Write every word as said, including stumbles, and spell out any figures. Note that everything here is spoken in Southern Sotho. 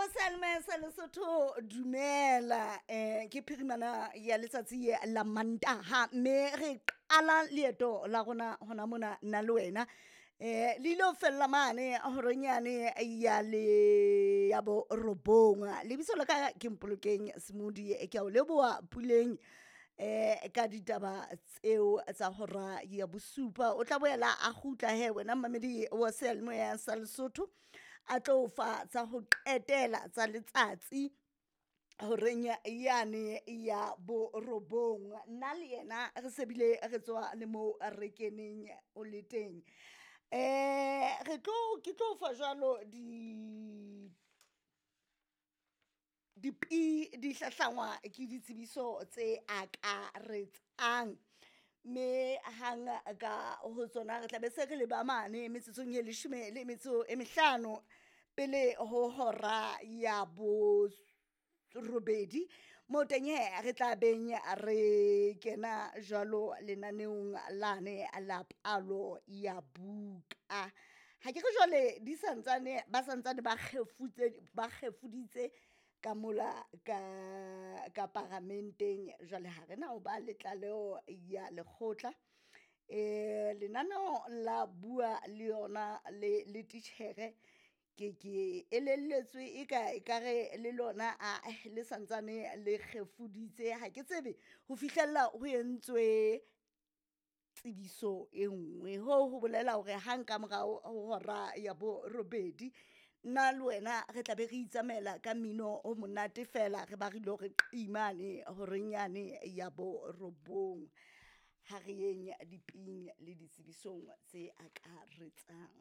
Wa seyalemoya sa Lesotho, dumela. um Ke phirimana ya letsatsi la Mantaha, mme re qala leeto la rona hona mona nna le wena. um Le ile ho fella mane horeng yane ya le ya borobong. Lebitso la ka ke Mpolokeng Semodi, ke a o leboha Puleng eh ka ditaba tseo tsa hora ya bosupa. O tla boela a kgutla he wena mmamedi wa seyalemoya sa Lesotho, a tlo fa tsa ho qetela tsa letsatsi horeng yane ya borobong. Nna le yena re se bile re tswa le moo re keneng o le teng. um Re tlo ke tlo fa jwalo di dipi di hlahlangwa ke ditsebiso tse akaretsang, mme hang ka ho tsona re tla be se re le ba mane metsotsong e leshome le metso e mehlano pele ho hora ya borobedi. Moo teng hee re tla beng re kena jwalo lenaneong lane la palo ya buka. Ha ke re jwale di santsane ba santsane ba kgefutse ba kgefuditse ka mola ka ka paramenteng. Jwale ha re na ho ba le tlaleho ya lekgotla. um Lenaneo la bua le yona le le titjhere, ke ke elelletswe eka ekare le lona ae le santsane le kgefuditse. Ha ke tsebe ho fihlella ho entswe tsebiso e nngwe. Hoo ho bolela hore hang ka morao ho hora ya borobedi, nna le wena re tla be re itsamaela ka mmino o monate fela, re ba re ilo re qi mane horeng yane ya borobong. Ha re yeng diping le ditsebisong tse akaretsang.